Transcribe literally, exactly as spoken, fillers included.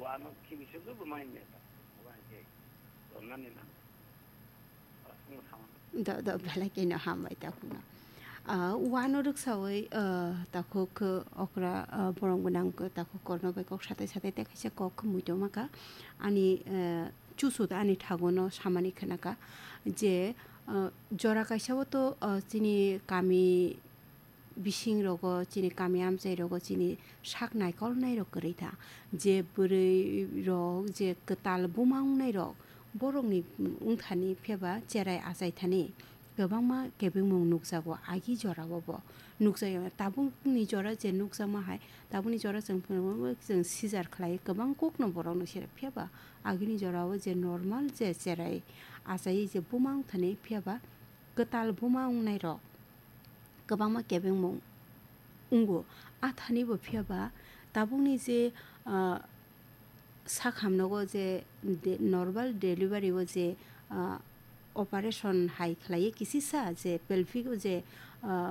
Wano kibisa joto mai mesa. Wano je. Donani nang. Asung sama. Do, do, belai keno hambai takhukno. Ah, wano rwksawi, ah, takhuk, ah, okra, ah, borok gwnang, ah, takhuk korno bai kok satai satai tei kaisa kok muitu maka. Ani, ah, chusu da ani thagono samani khnaka je, ah, jora kaisa o to, ah, chini kami bising rogo, chini kami amchai rogo, chini sak naikolnai rok kwrwi tha. Je bwrwi rok, je kwtal buma wngnai rok, borokni wngthani phiyaba cherai achai thani kwbangma kebengmung nukjago agi jorao bo. Nukjagwi tabukni jora je nukjakma hai, tabukni jora chwng phano chwng sijar khlai kwbang kokno borokno sere phiyaba agini jorao je normal je cherai achai je buma wngthani phiyaba kwtal buma wngnai rok kwbangma kebengmung wngo. A thani bo phiyaba tabukni je, ah, sak hamnogo je de-, normal delivery o je, ah, operation hai khlaiwi kisisa je pelvic o je, ah,